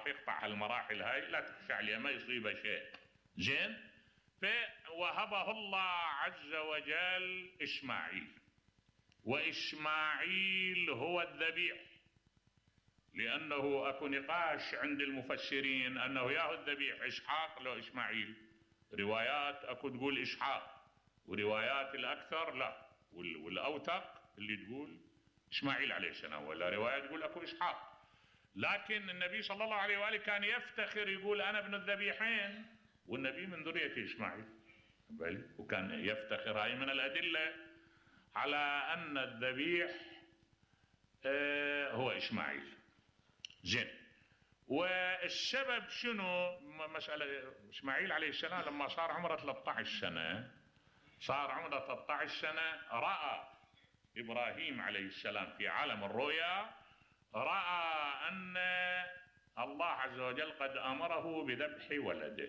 يقطع هالمراحل هاي لا تخشى عليه ما يصيبه شيء. زين. فوهبه الله عز وجل إسماعيل، وإسماعيل هو الذبيح، لأنه أكو نقاش عند المفسرين أنه ياهو الذبيح إسحاق لو إسماعيل. روايات أكو تقول إسحاق، وروايات الأكثر لا، والأوثق اللي تقول إسماعيل عليه السلام، ولا رواية تقول أكو إسحاق. لكن النبي صلى الله عليه وآله كان يفتخر يقول أنا ابن الذبيحين، والنبي من ذرية إسماعيل، وكان يفتخر. هاي من الأدلة على أن الذبيح هو إسماعيل. زين. والسبب شنو؟ مسألة إسماعيل عليه السلام لما صار عمره 13 سنة، صار عمره 13 سنة، رأى إبراهيم عليه السلام في عالم الرؤيا، رأى أن الله عز وجل قد أمره بذبح ولده.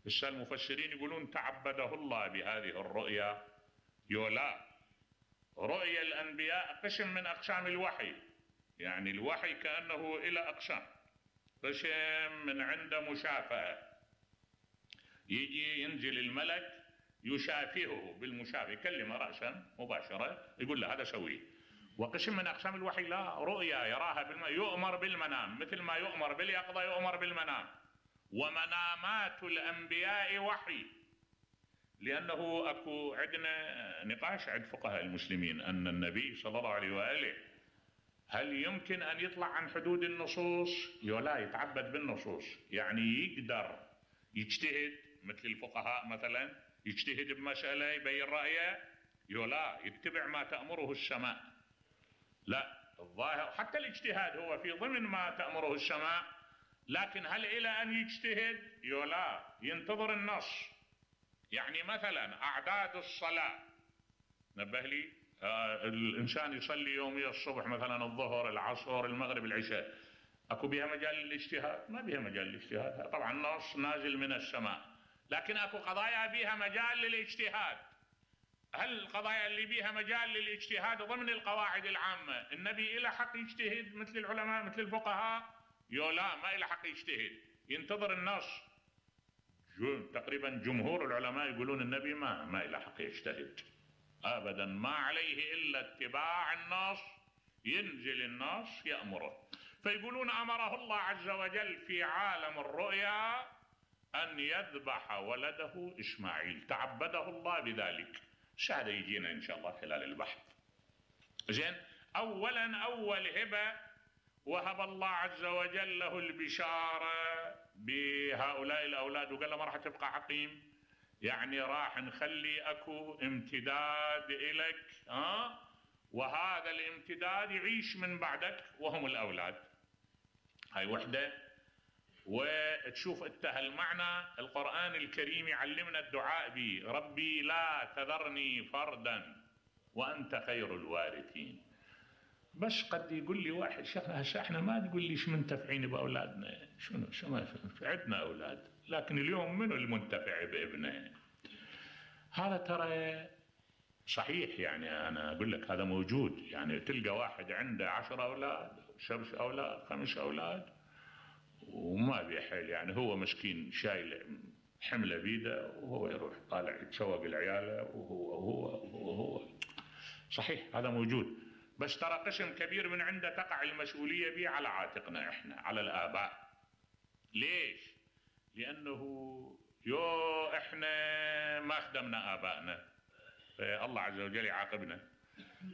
بس المفسرين يقولون تعبده الله بهذه الرؤيا. يولا رؤيا الأنبياء قسم من أقسام الوحي، يعني الوحي كأنه إلى أقسام. قسم من عنده مشافهة، يجي ينزل الملك يشافهه بالمشافهة، يكلمه رأسا مباشرة يقول له هذا سويه. وقسم من أقسام الوحي لا، رؤيا يراها يؤمر بالمنام، مثل ما يؤمر باليقظة يؤمر بالمنام. ومنامات الأنبياء وحي، لأنه أكو عندنا نقاش عند فقهاء المسلمين أن النبي صلى الله عليه وآله هل يمكن أن يطلع عن حدود النصوص؟ لا، يتعبد بالنصوص، يعني يقدر يجتهد مثل الفقهاء مثلا، يجتهد بمسألة يبين رأيه، لا يتبع ما تأمره السماء. لا، الظاهر حتى الاجتهاد هو في ضمن ما تأمره السماء، لكن هل إلى أن يجتهد؟ لا، ينتظر النص. يعني مثلا أعداد الصلاة، نبه لي، الإنسان يصلي يوميا الصبح مثلا الظهر العصر المغرب العشاء، أكو بها مجال للاجتهاد؟ ما بها مجال للاجتهاد، طبعا النص نازل من السماء، لكن أكو قضايا بها مجال للاجتهاد. هل القضايا اللي بها مجال للاجتهاد ضمن القواعد العامة النبي إلى حق يجتهد مثل العلماء مثل الفقهاء؟ لا، ما إلى حق يجتهد، ينتظر النص. تقريبا جمهور العلماء يقولون النبي ما إلى حق يجتهد أبدا، ما عليه إلا اتباع النص، ينزل النص يأمره. فيقولون أمره الله عز وجل في عالم الرؤيا أن يذبح ولده إسماعيل، تعبده الله بذلك. هذا يجينا إن شاء الله خلال البحث. زين. أولا أول هبة وهب الله عز وجل له البشارة بهؤلاء الأولاد، وقال له ما راح تبقى عقيم، يعني راح نخلي أكو امتداد إلك، وهذا الامتداد يعيش من بعدك وهم الأولاد. هاي وحدة. وتشوف انت هالمعنى القرآن الكريم يعلمنا الدعاء به، ربي لا تذرني فردا وأنت خير الوارثين. بس قد يقول لي واحد شيخ احنا ما تقول ليش منتفعين بأولادنا، شنو ما عندنا أولاد، لكن اليوم منو المنتفع بابنه؟ هذا ترى صحيح، يعني أنا أقول لك هذا موجود. يعني تلقى واحد عنده 10 أولاد 7 أولاد 5 أولاد وما بيحل، يعني هو مسكين شايل حملة بيده وهو يروح طالع يتشوق العيالة وهو صحيح هذا موجود. بس ترى قسم كبير من عنده تقع المسؤولية به على عاتقنا احنا، على الآباء. ليش؟ لأنه احنا ما خدمنا آبائنا، الله عز وجل يعاقبنا.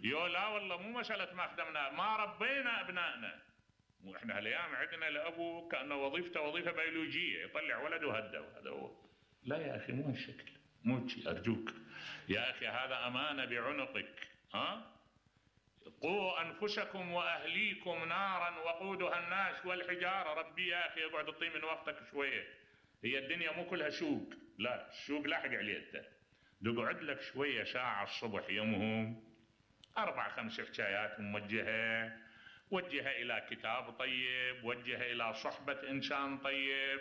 لا والله مو مسألة ما خدمنا، ما ربينا أبنائنا. مو احنا هالايام عندنا الأبو كأنه وظيفته وظيفة بيولوجية، يطلع ولد وهده وهذا هو. لا يا أخي، مو هالشكل، مو شيء، أرجوك يا أخي، هذا أمانة بعنقك. قوا أنفسكم وأهليكم نارا وقودها الناس والحجارة. ربي يا أخي اقعد اطي من وقتك شوية، هي الدنيا مو كلها سوق، لا السوق لاحق عليه انت. تقعد لك شوية ساعة الصبح يومهم 4-5 حكايات موجهة، وجهها إلى كتاب طيب، وجهها إلى صحبة إنسان طيب.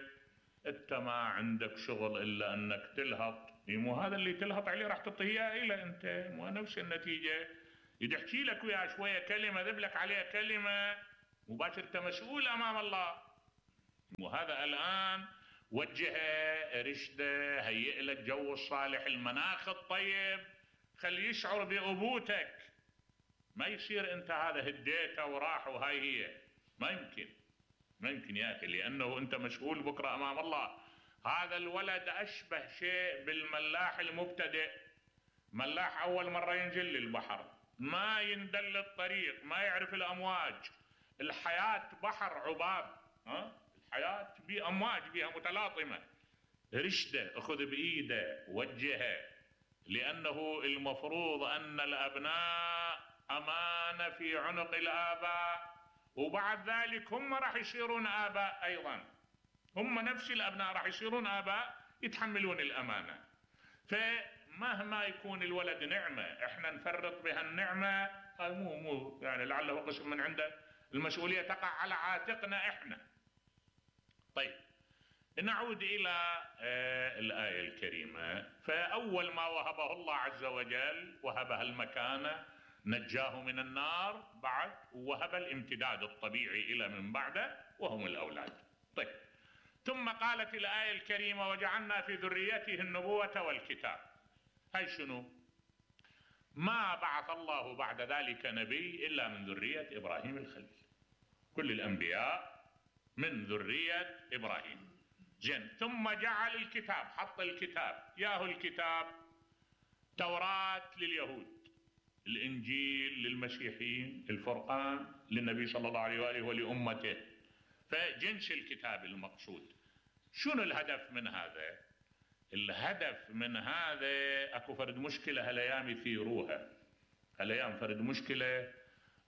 أنت ما عندك شغل إلا أنك تلهط، مو هذا اللي تلهط عليه راح تعطيه إلى أنت، مو نفس النتيجة. يدحكي لك ويا شوية كلمة ذبلك عليها كلمة مباشرة، مسؤول أمام الله. وهذا الآن وجهه، رشده، هيئ له الجو الصالح، المناخ الطيب، خليه يشعر بأبوتك. ما يصير انت هذا هديته وراح وهاي هي. ما يمكن يا اخي، لانه انت مسؤول بكره امام الله. هذا الولد اشبه شيء بالملاح المبتدئ. ملاح اول مره ينزل للبحر، ما يندل الطريق، ما يعرف الامواج. الحياه بحر عباب، الحياه بامواج بها متلاطمه. رشده، اخذ بايده، وجهه، لانه المفروض ان الابناء امانه في عنق الاباء، وبعد ذلك هم راح يصيرون اباء ايضا. هم نفس الابناء راح يصيرون اباء يتحملون الامانه. فمهما يكون الولد نعمه احنا نفرط بها النعمه، هاي مو يعني لعله قسم من عنده، المسؤوليه تقع على عاتقنا احنا. طيب نعود الى الايه الكريمه. فاول ما وهبه الله عز وجل وهبها المكانه، نجاه من النار، بعد وهب الامتداد الطبيعي الى من بعده وهم الاولاد. طيب ثم قالت الايه الكريمه وجعلنا في ذريته النبوه والكتاب. هاي شنو؟ ما بعث الله بعد ذلك نبي الا من ذريه ابراهيم الخليل. كل الانبياء من ذريه ابراهيم. زين، ثم جعل الكتاب، حط الكتاب. ياهو الكتاب توراة لليهود، الانجيل للمسيحيين، الفرقان للنبي صلى الله عليه واله ولامته. فجنس الكتاب المقصود. شنو الهدف من هذا؟ الهدف من هذا اكو فرد مشكله هالايام يثيروها. هالايام فرد مشكله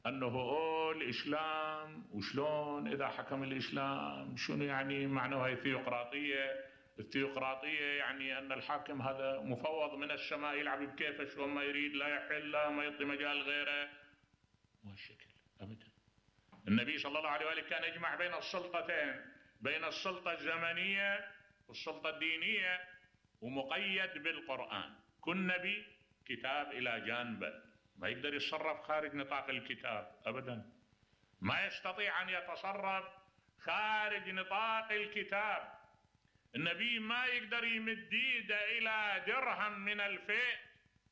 انه الاسلام وشلون اذا حكم الاسلام، شنو يعني معناها الثيوقراطيه؟ الثيوقراطيه يعني ان الحاكم هذا مفوض من السماء يلعب بكيفه شو ما يريد، لا يحل، لا ما يعطي مجال غيره. مو هالشكل ابدا. النبي صلى الله عليه واله كان يجمع بين السلطتين، بين السلطه الزمنيه والسلطه الدينيه، ومقيد بالقران. كل نبي كتاب الى جانبه، ما يقدر يتصرف خارج نطاق الكتاب ابدا. ما يستطيع ان يتصرف خارج نطاق الكتاب. النبي ما يقدر يمد ايده الى درهم من الفيء،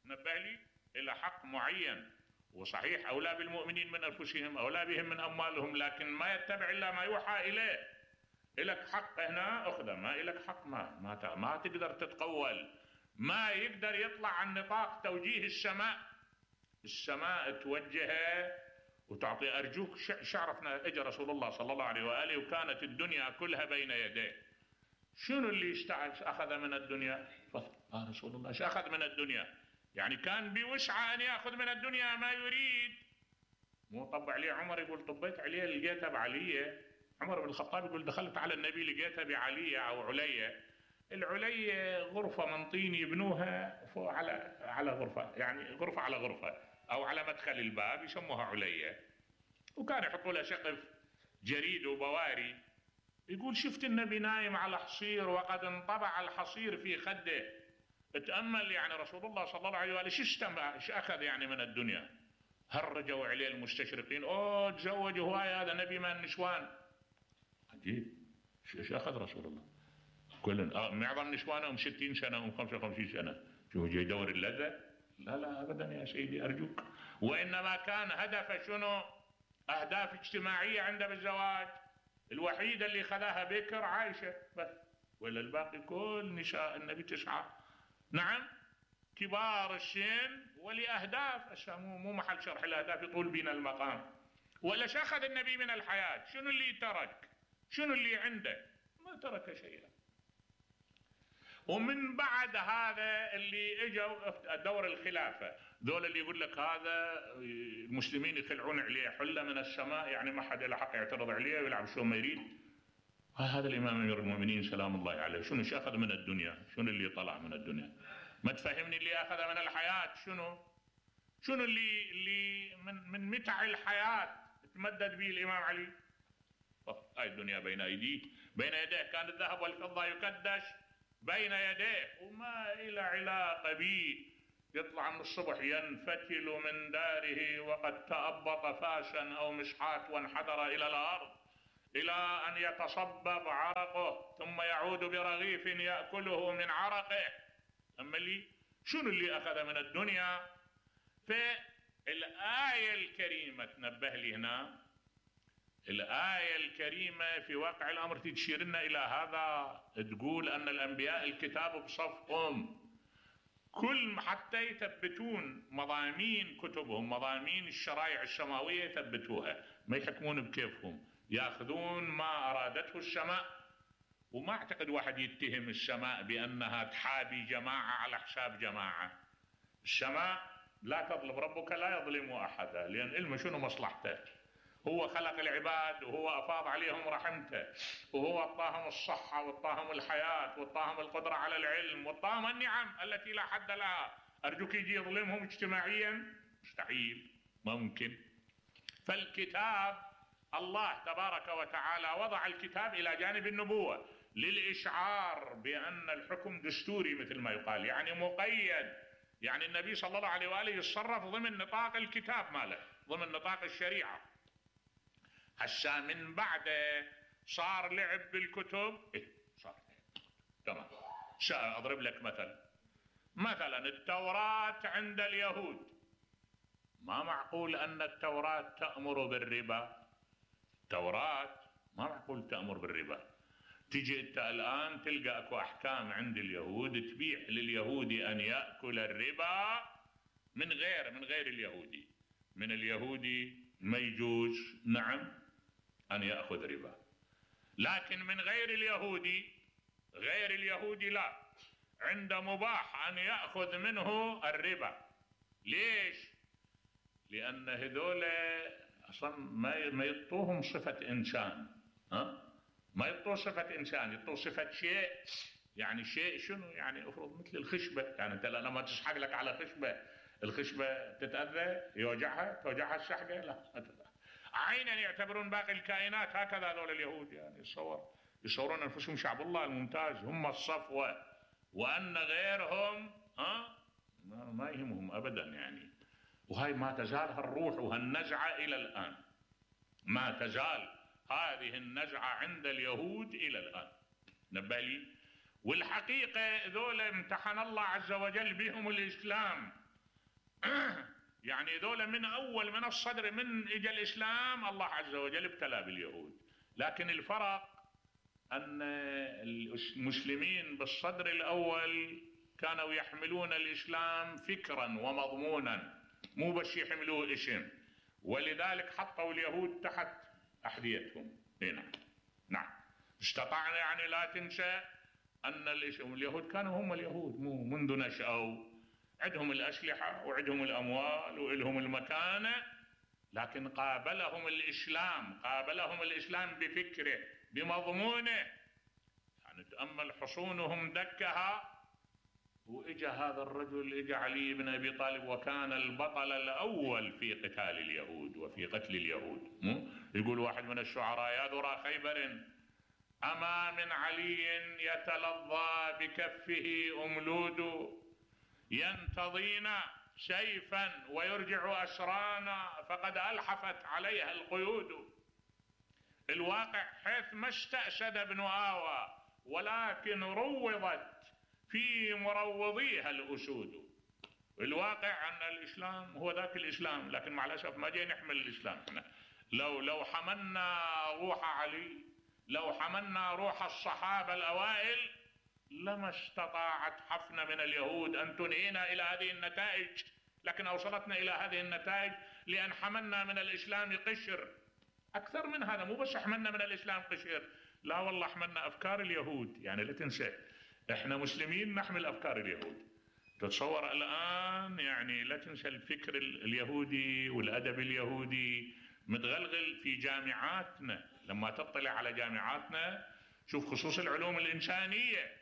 نبه لي، الى حق معين. وصحيح اولى بالمؤمنين من انفسهم، اولى بهم من اموالهم، لكن ما يتبع الا ما يوحى اليه. الك حق هنا اخذه، ما الك حق ما تقدر تتقول. ما يقدر يطلع عن نطاق توجيه السماء. السماء توجهه وتعطي. ارجوك شعرفنا اجى رسول الله صلى الله عليه واله وكانت الدنيا كلها بين يديه. شنو اللي اخذ من الدنيا؟ رسول الله ايش اخذ من الدنيا؟ يعني كان بوسعه ان ياخذ من الدنيا ما يريد. مو طب عليه عمر يقول طبيت عليه لقيتها بعليه. عمر بن الخطاب يقول دخلت على النبي لقيتها بعليه او عليه. العليه غرفه من طين يبنوها فوق على غرفه، يعني غرفه على غرفه او على مدخل الباب يسموها عليه، وكان يحطوا لها سقف جريد وبواري. يقول شفت النبي نايم على حصير وقد انطبع الحصير في خده. اتامل يعني رسول الله صلى الله عليه واله ايش اخذ يعني من الدنيا. هرجوا عليه المستشرقين، تزوج هواي، هذا نبي من النسوان. عجيب، ايش اخذ رسول الله؟ كل معظم نسوانهم 60 سنه و 55 سنه، شو جاي يدور اللذه؟ لا ابدا يا سيدي ارجوك. وانما كان هدفه شنو؟ اهداف اجتماعيه عنده بالزواج. الوحيده اللي خذاها بكر عائشه بس، ولا الباقي كل نساء النبي 9. نعم، كبار السن ولاهداف. مو محل شرح الاهداف، يطول بنا المقام. ولا اخذ النبي من الحياه؟ شنو اللي ترك؟ شنو اللي عنده؟ ما ترك شيئا. ومن بعد هذا اللي اجوا دور الخلافه، ذول اللي يقول لك هذا المسلمين يخلعون عليه حله من السماء، يعني ما حد له حق يعترض عليه ويلعب شو ما يريد. هذا الامام امير المؤمنين سلام الله عليه شنو اخذ من الدنيا؟ شنو اللي طلع من الدنيا؟ ما تفهمني اللي اخذ من الحياه شنو اللي من متع الحياه تمدد به الامام علي. هاي الدنيا بين ايديه، بين يديه كان الذهب والفضه يكدش بين يديه وما إلى علاقة به. يطلع من الصبح ينفتل من داره وقد تأبط فاشا أو مشحات وانحدر إلى الأرض. إلى أن يتصبب عرقه ثم يعود برغيف يأكله من عرقه. أما شنو اللي أخذ من الدنيا؟ فالآية الكريمة تنبه لي هنا، الآية الكريمة في واقع الأمر تشير لنا إلى هذا، تقول أن الأنبياء الكتاب بصفهم، كل حتى يثبتون مضامين كتبهم، مضامين الشرائع السماوية يثبتوها، ما يحكمون بكيفهم، يأخذون ما أرادته السماء. وما أعتقد واحد يتهم السماء بأنها تحابي جماعة على حساب جماعة. السماء لا تظلم، ربك لا يظلم أحدا، لأن علمه شنو مصلحته، هو خلق العباد وهو أفاض عليهم رحمته، وهو أعطاهم الصحة وأعطاهم الحياة وأعطاهم القدرة على العلم وأعطاهم النعم التي لا حد لها. أرجوك يجي يظلمهم اجتماعيا؟ مستحيل، ممكن. فالكتاب الله تبارك وتعالى وضع الكتاب إلى جانب النبوة للإشعار بأن الحكم دستوري مثل ما يقال، يعني مقيد، يعني النبي صلى الله عليه وآله يتصرف ضمن نطاق الكتاب ماله، ضمن نطاق الشريعة. هسا من بعده صار لعب بالكتب، صار تمام. أضرب لك مثلا التوراة عند اليهود، ما معقول أن التوراة تأمر بالربا، التوراة ما معقول تأمر بالربا. تجي أنت الآن تلقى أكو أحكام عند اليهود تبيح لليهودي أن يأكل الربا من غير اليهودي. من اليهودي ما يجوز نعم أن يأخذ ربا، لكن من غير اليهودي لا، عند مباح أن يأخذ منه الربا. ليش؟ لأن هذول أصلا ما يطوهم صفة إنسان، ما يطوه صفة إنسان، يطوه صفة شيء. يعني شيء شنو؟ يعني أفرض مثل الخشبة، يعني أنت لما تسحق لك على خشبة، الخشبة تتأذى، توجعها السحقة؟ لا. عينا يعتبرون باقي الكائنات هكذا هذول اليهود، يعني يصورون أنفسهم شعب الله الممتاز، هم الصفوة، وأن غيرهم ما يهمهم أبدا يعني. وهاي ما تزال هالروح وهالنزعة إلى الآن، ما تزال هذه النزعة عند اليهود إلى الآن. نبالي. والحقيقة ذولا امتحن الله عز وجل بهم الإسلام يعني ذولا من أول من الصدر من إجا الإسلام الله عز وجل ابتلى باليهود، لكن الفرق أن المسلمين بالصدر الأول كانوا يحملون الإسلام فكرا ومضمونا، مو بس يحملوه اسم، ولذلك حطوا اليهود تحت أحذيتهم. نعم. استطعنا، يعني لا تنسى أن اليهود كانوا هم اليهود منذ نشأوا، عندهم الأسلحة وعندهم الأموال وعندهم المكانة، لكن قابلهم الإسلام بفكره بمضمونه. يعني تأمل حصونهم دكها، وإجا هذا الرجل، إجا علي بن أبي طالب، وكان البطل الأول في قتال اليهود وفي قتل اليهود. يقول واحد من الشعراء: يا ذرى خيبر أما من علي يتلظى بكفه أملود، ينتضينا سيفا ويرجع أسرانا فقد ألحفت عليها القيود. الواقع حيث ما استأسد ابن آوى ولكن روضت في مروضيها الأسود. الواقع أن الإسلام هو ذاك الإسلام، لكن مع الأسف ما جاي نحمل الإسلام احنا. لو حملنا روح علي، لو حملنا روح الصحابة الأوائل، لما استطاعت حفنة من اليهود أن تنهينا إلى هذه النتائج، لكن أوصلتنا إلى هذه النتائج لأن حملنا من الإسلام قشر. أكثر من هذا، مو بس حملنا من الإسلام قشر، لا والله حملنا أفكار اليهود. يعني لا تنسى احنا مسلمين نحمل أفكار اليهود. تتصور الآن، يعني لا تنسى الفكر اليهودي والأدب اليهودي متغلغل في جامعاتنا. لما تطلع على جامعاتنا شوف خصوص العلوم الإنسانية،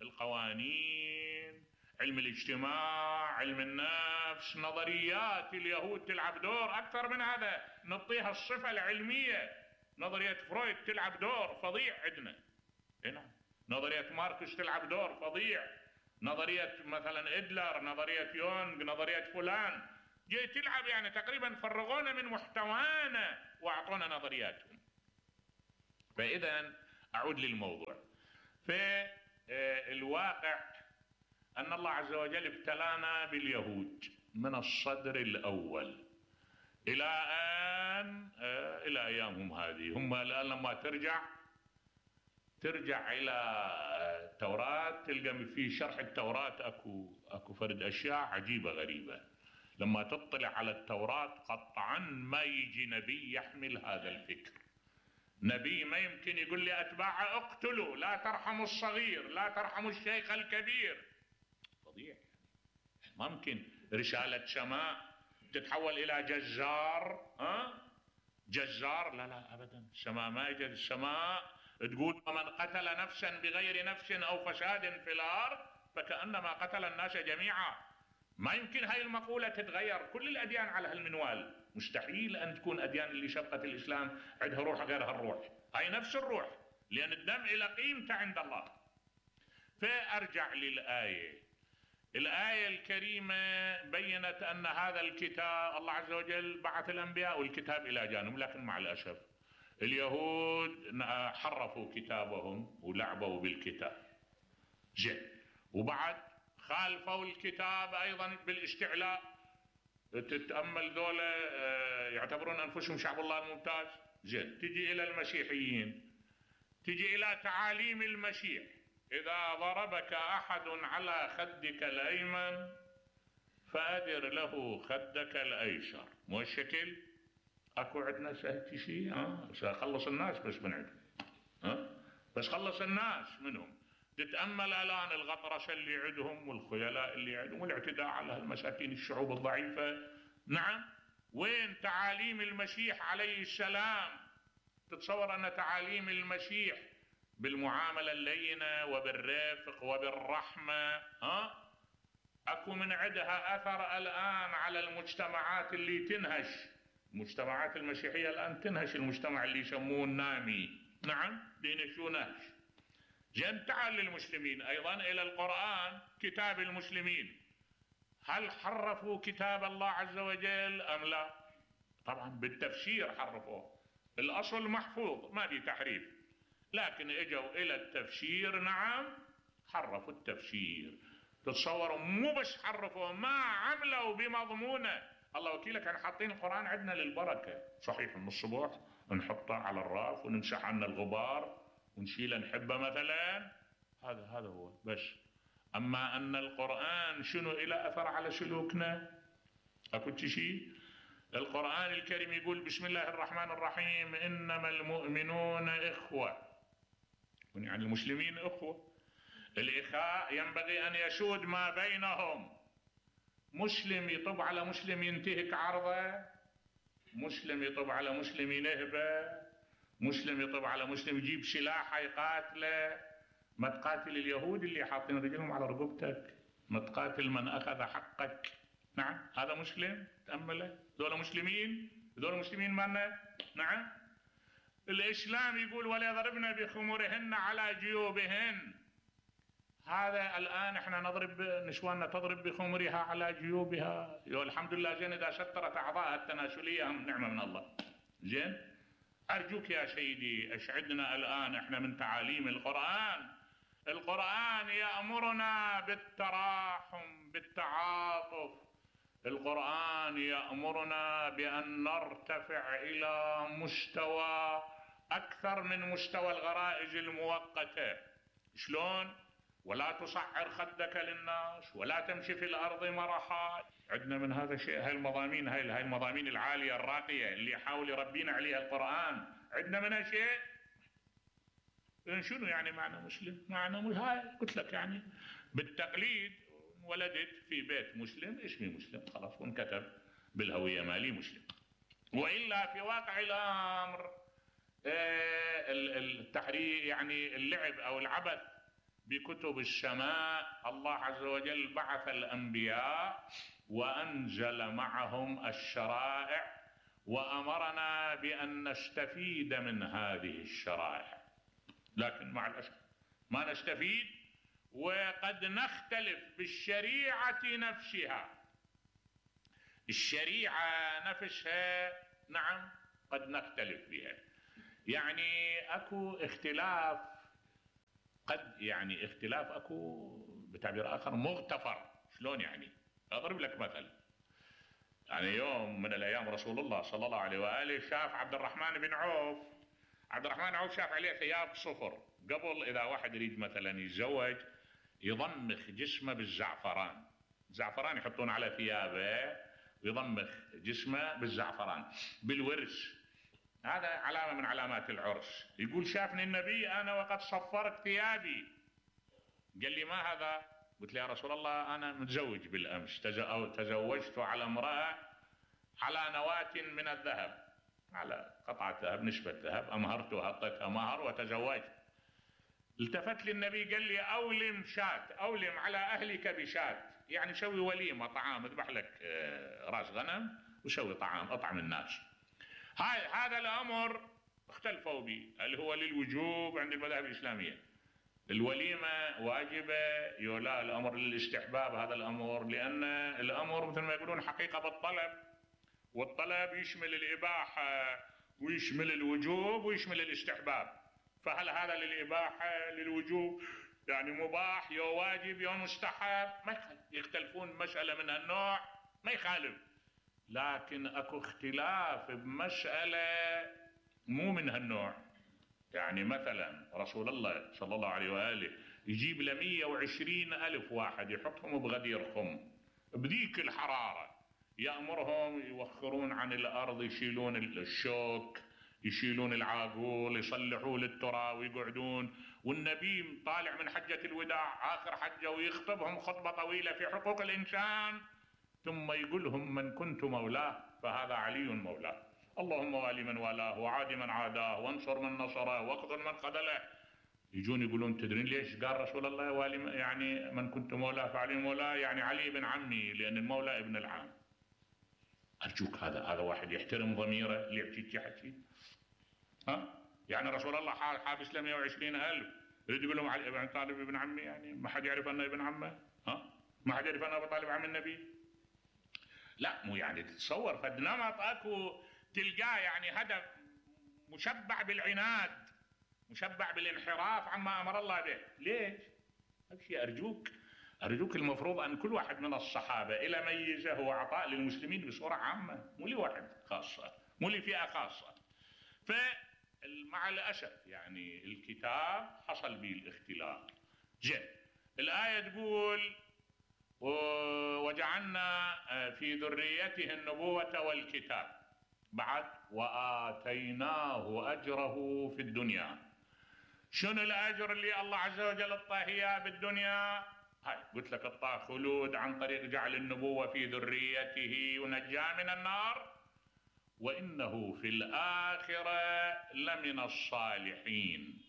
القوانين، علم الاجتماع، علم النفس، نظريات اليهود تلعب دور. أكثر من هذا نعطيها الصفة العلمية. نظرية فرويد تلعب دور فظيع عندنا هنا، نظرية ماركس تلعب دور فظيع، نظرية مثلا إدلر، نظرية يونغ، نظرية فلان، جاي تلعب. يعني تقريبا فرغونا من محتوانا وأعطونا نظرياتهم. فإذا أعود للموضوع. في الواقع أن الله عز وجل ابتلانا باليهود من الصدر الأول إلى أن إلى أيامهم هذه. هم الآن لما ترجع إلى التوراة تلقى في شرح التوراة أكو فرد أشياء عجيبة غريبة. لما تطلع على التوراة قطعا ما يجي نبي يحمل هذا الفكر. نبي ما يمكن يقول لي أتباعه اقتلوا، لا ترحموا الصغير، لا ترحموا الشيخ الكبير. فظيع. ما ممكن رسالة سماء تتحول إلى جزار. جزار؟ لا لا أبدا. السماء ما يجد. السماء تقول ومن قتل نفسا بغير نفس أو فساد في الأرض فكأنما قتل الناس جميعا. ما يمكن هاي المقولة تتغير. كل الأديان على هالمنوال. مستحيل أن تكون أديان اللي شبقت الإسلام عندها روح غير هالروح. هاي نفس الروح، لأن الدم إلى قيمته عند الله. فأرجع للآية. الآية الكريمة بيّنت أن هذا الكتاب الله عز وجل بعث الأنبياء والكتاب إلى جانب، لكن مع الأسف اليهود حرفوا كتابهم ولعبوا بالكتاب. زين. وبعد خالفوا الكتاب أيضا بالاستعلاء. تتأمل ذولا يعتبرون أنفسهم شعب الله الممتاز. زين. تجي إلى المسيحيين، تجي إلى تعاليم المسيح: إذا ضربك أحد على خدك الأيمن فأدر له خدك الأيسر. مو الشكل؟ أكو عندنا هيك شيء؟ سأخلص الناس بس من عندهم. بس خلص الناس منهم. تتأمل الآن الغطرسة اللي عندهم والخيلاء اللي عندهم والاعتداء على المساكين الشعوب الضعيفة. نعم. وين تعاليم المسيح عليه السلام؟ تتصور أن تعاليم المسيح بالمعاملة اللينة وبالرفق وبالرحمة أكو من عندها أثر الآن على المجتمعات اللي تنهش. المجتمعات المسيحية الآن تنهش المجتمع اللي يسموه النامي. نعم. دينشو نهش. جن. تعال للمسلمين أيضا إلى القرآن، كتاب المسلمين. هل حرفوا كتاب الله عز وجل أم لا؟ طبعا بالتفسير حرفوه. الأصل محفوظ ما في تحريف، لكن اجوا إلى التفسير. نعم. حرفوا التفسير. تتصوروا مو بس حرفوا، ما عملوا بمضمونه. الله وكيلك كانوا حاطين القرآن عندنا للبركة. صحيح من الصبح نحطه على الراف ونمسح عنا الغبار ونشيله نحبه مثلا. هذا هو بس. أما أن القرآن شنو إلى أثر على سلوكنا؟ أكو شيء؟ القرآن الكريم يقول بسم الله الرحمن الرحيم: إنما المؤمنون إخوة. يعني المسلمين إخوة. الإخاء ينبغي أن يسود ما بينهم. مسلم يطب على مسلم ينتهك عرضه، مسلم يطب على مسلم ينهبه، مسلم يطب على مسلم يجيب سلاحه يقاتله. ما تقاتل اليهود اللي حاطين رجلهم على رقبتك، ما تقاتل من أخذ حقك. نعم. هذا مسلم. تأمله. ذولا مسلمين. ذولا مسلمين مالنا. نعم. الإسلام يقول ولا يضربن بخمرهن على جيوبهن. هذا الآن احنا نضرب نسواننا تضرب بخمرها على جيوبها. الحمد لله. زين. إذا سترت أعضائها التناسلية نعمة من الله. زين. أرجوك يا سيدي أشعدنا الآن احنا من تعاليم القرآن. القرآن يأمرنا بالتراحم بالتعاطف. القرآن يأمرنا بأن نرتفع إلى مستوى أكثر من مستوى الغرائز المؤقتة. شلون؟ ولا تصعر خدك للناس ولا تمشي في الأرض مرحا. عندنا من هذا الشيء. هاي المضامين هاي المضامين العالية الراقية اللي يحاول يربينا عليها القرآن عندنا منها شيء. شنو يعني معنى مسلم؟ معنى هاي قلت لك يعني بالتقليد ولدت في بيت مسلم اسمي مسلم خلاص وانكتب بالهوية مالي مسلم. وإلا في واقع الأمر التحرير يعني اللعب أو العبث بكتب السماء. الله عز وجل بعث الأنبياء وأنزل معهم الشرائع وأمرنا بأن نستفيد من هذه الشرائع، لكن مع الأسف ما نستفيد. وقد نختلف بالشريعة نفسها. الشريعة نفسها نعم قد نختلف بها. يعني اكو اختلاف، قد يعني اختلاف اكو بتعبير اخر مغتفر. شلون يعني؟ اضرب لك مثل. يعني يوم من الايام رسول الله صلى الله عليه واله شاف عبد الرحمن بن عوف. عبد الرحمن بن عوف شاف عليه ثياب صفر. قبل اذا واحد يريد مثلا يتزوج يضمخ جسمه بالزعفران. الزعفران يحطون على ثيابه ويضمخ جسمه بالزعفران بالورس. هذا علامة من علامات العرس. يقول شافني النبي أنا وقد صفرت ثيابي. قال لي ما هذا؟ قلت له يا رسول الله أنا متزوج بالأمس، تزوجت على امرأة على نواة من الذهب، على قطعة ذهب نشبة ذهب، أمهرتها أعطيتها مهر وتزوجت. التفت لي النبي قال لي أولم شات، أولم على أهلك بشات، يعني سوي وليمة طعام، اذبح لك راس غنم وسوي طعام اطعم الناس. هذا الأمر اختلفوا به، هل هو للوجوب عند المذاهب الإسلامية؟ الوليمة واجبة يولا الأمر للاستحباب؟ هذا الأمر لأن الأمر مثل ما يقولون حقيقة بالطلب، والطلب يشمل الإباحة ويشمل الوجوب ويشمل الاستحباب. فهل هذا للإباحة للوجوب؟ يعني مباح يو واجب يو مستحب؟ ما يخالف. يختلفون مسألة من هالنوع ما يخالف، لكن اكو اختلاف بمسألة مو من هالنوع. يعني مثلا رسول الله صلى الله عليه وآله يجيب ل 120,000 واحد يحطهم بغدير خم بذيك الحرارة، يأمرهم يوخرون عن الأرض، يشيلون الشوك، يشيلون العاقول، يصلحوا للترى ويقعدون، والنبي طالع من حجة الوداع آخر حجة ويخطبهم خطبة طويلة في حقوق الإنسان، ثم يقول لهم من كنت مولاه فهذا علي مولاه، اللهم والي من والاه وعادي من عاداه وانصر من نصره واخذل من خذله. يجون يقولون تدرين ليش قال رسول الله والي يعني من كنت مولاه فعلي مولاه؟ يعني علي ابن عمي، لأن المولى ابن العام. أرجوك هذا واحد يحترم ضميره اللي يحكي حكي؟ ها؟ يعني رسول الله حابس له 120,000 يريد يقول لهم علي ابن طالب ابن عمي؟ يعني ما حد يعرف أنه ابن عمه؟ ها؟ ما حد يعرف أنه أبو طالب عم النبي؟ لا مو يعني تتصور فد نمط اكو تلقاه يعني هذا مشبع بالعناد، مشبع بالانحراف عما امر الله به. ليش؟ ابشي ارجوك المفروض ان كل واحد من الصحابه الى ميزه واعطاء للمسلمين بصوره عامه، مو لواحد خاصه، مو لفئه خاصه. فمع الاسف يعني الكتاب حصل به الاختلاف. زين، الايه تقول وجعلنا في ذريته النبوة والكتاب، بعد وآتيناه أجره في الدنيا. شنو الأجر اللي الله عز وجل اعطاه إياه بالدنيا؟ هاي قلت لك اعطاه خلود عن طريق جعل النبوة في ذريته ونجاه من النار، وإنه في الآخرة لمن الصالحين.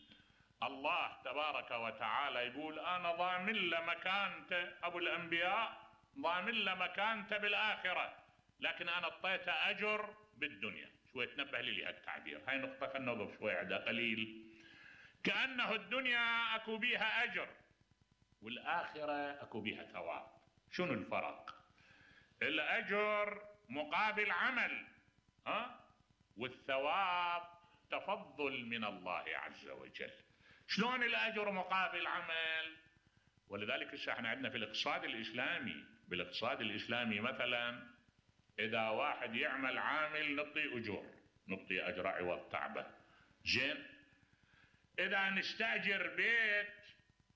الله تبارك وتعالى يقول أنا ضامن له مكانته، أبو الأنبياء ضامن له مكانته بالآخرة، لكن أنا اعطيته أجر بالدنيا. شوي تنبه لي هالتعبير، هاي نقطة خلنا نوقف شوي عندها قليل. كأنه الدنيا أكو بيها أجر والآخرة أكو بيها ثواب. شنو الفرق؟ الأجر مقابل عمل، والثواب تفضل من الله عز وجل. شلون الأجر مقابل عمل؟ ولذلك احنا عندنا في الاقتصاد الإسلامي، بالاقتصاد الإسلامي مثلا إذا واحد يعمل عامل نعطيه أجور، نعطيه أجر عوض تعبه. زين، إذا نستأجر بيت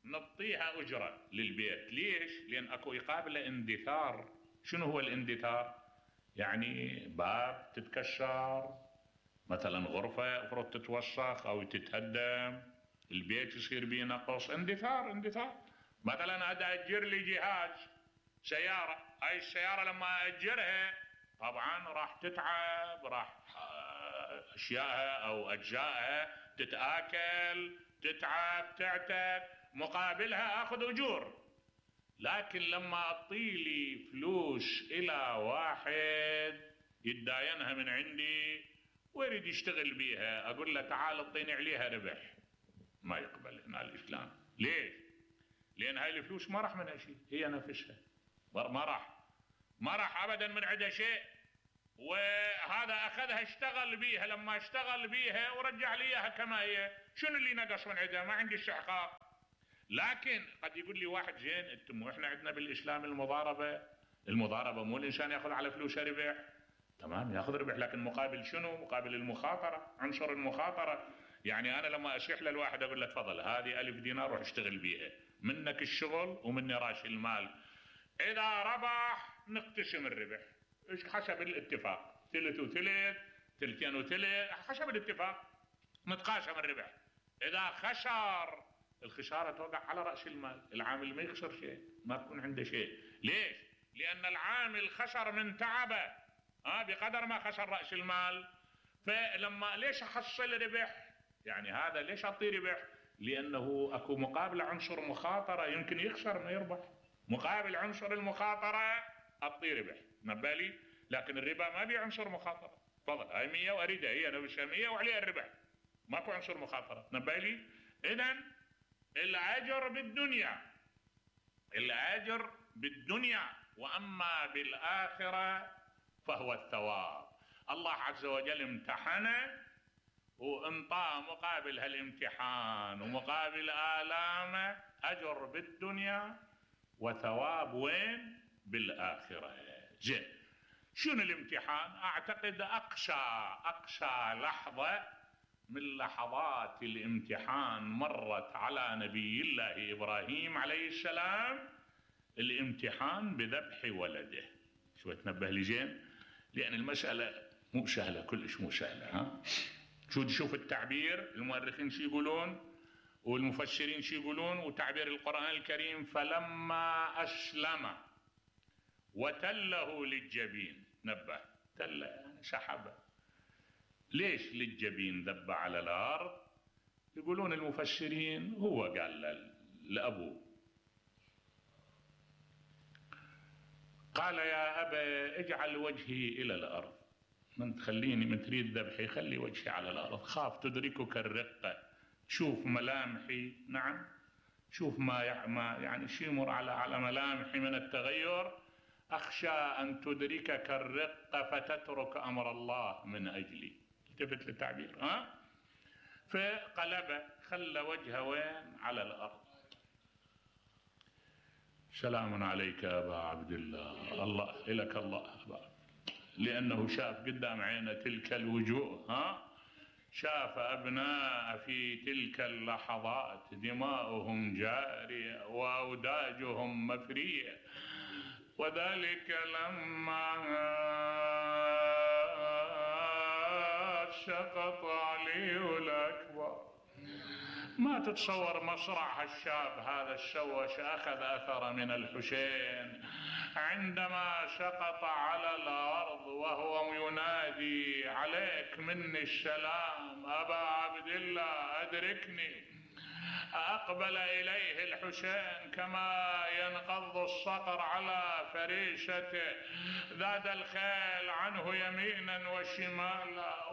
نعطيها أجرة للبيت. ليش؟ لأن أكو يقابل اندثار. شنو هو الاندثار؟ يعني باب تتكسر، مثلا غرفة افرض تتوسخ أو تتهدم، البيت يصير بيه نقص، اندثار. مثلا أجر لي جهاز سيارة، هاي السيارة لما أجرها طبعا راح تتعب، راح أشيائها أو أجزائها تتآكل، تتعب، تعتد، مقابلها أخذ أجور. لكن لما أعطيلي فلوس إلى واحد يتداينها من عندي ويريد يشتغل بيها، أقول له تعال اعطيني عليها ربح، ما يقبل هنا الإسلام. ليش؟ لأن هاي الفلوس ما راح منها شيء، هي نفسها ما راح أبدا من عندها شيء. وهذا أخذها اشتغل بيها، لما اشتغل بيها ورجع لي إياها كما هي، شنو اللي نقص من عندها؟ ما عندي استحقاق. لكن قد يقول لي واحد زين انتم احنا عندنا بالإسلام المضاربة مو الإنسان يأخذ على فلوسه ربح، تمام يأخذ ربح، لكن مقابل شنو؟ مقابل المخاطرة، عنصر المخاطرة. يعني أنا لما أشيح للواحد أقول له تفضل هذه 1000 دينار روح اشتغل بيها، منك الشغل ومني راش المال، إذا ربح نقتسم الربح حسب الاتفاق، ثلث وثلث، ثلثين وثلث، حسب الاتفاق نتقاسم الربح. إذا خسر الخسارة توقع على رأس المال، العامل ما يخسر شيء، ما تكون عنده شيء. ليش؟ لأن العامل خسر من تعبه بقدر ما خسر رأس المال. فلما ليش أحصل ربح؟ يعني هذا ليش أعطيه ربح؟ لأنه أكو مقابل عنصر مخاطرة، يمكن يخسر ما يربح، مقابل عنصر المخاطرة أعطيه ربح، نبالي. لكن الربا ما بي عنصر مخاطرة، تفضل هاي 100 وأريدها هي نفسها 100 وعليها الربح، ماكو عنصر مخاطرة، نبالي. إذن الأجر بالدنيا، الأجر بالدنيا، وأما بالآخرة فهو الثواب. الله عز وجل امتحنه وانطاه مقابل هالامتحان ومقابل آلامه أجر بالدنيا وثواب وين؟ بالآخرة. زين، شنو الامتحان؟ أعتقد أقصى لحظة من لحظات الامتحان مرت على نبي الله إبراهيم عليه السلام الامتحان بذبح ولده. شو تنبه لي زين؟ لأن المسألة مو سهلة، كلش مو سهلة. شوف التعبير، المؤرخين شو يقولون والمفسرين شو يقولون، وتعبير القرآن الكريم فلما أسلم وتله للجبين، نبه تله يعني سحبه. ليش للجبين ذب على الأرض؟ يقولون المفسرين هو قال لأبوه، قال يا أبا اجعل وجهي إلى الأرض، من تخليني من تريد ذبحي خلي وجهي على الأرض، خاف تدركك الرقة، شوف ملامحي، نعم شوف ما يعني شي يمر على ملامحي من التغير، أخشى أن تدركك الرقة فتترك أمر الله من أجلي. التفت للتعبير. فقلبه خلى وجهه وين؟ على الأرض. سلام عليك يا أبا عبد الله، الله إلك الله أبا، لأنه شاف قدام عينه تلك الوجوه، شاف أبناء في تلك اللحظات دماؤهم جارية وأوداجهم مفرية، وذلك لما سقط علي الأكبر. ما تتصور مصرع هالشاب هذا الشوش أخذ أثر من الحسين عندما سقط على الأرض وهو ينادي عليك مني السلام أبا عبد الله أدركني. أقبل إليه الحسين كما ينقض الصقر على فريسته، ذاد الخيل عنه يمينا وشمالا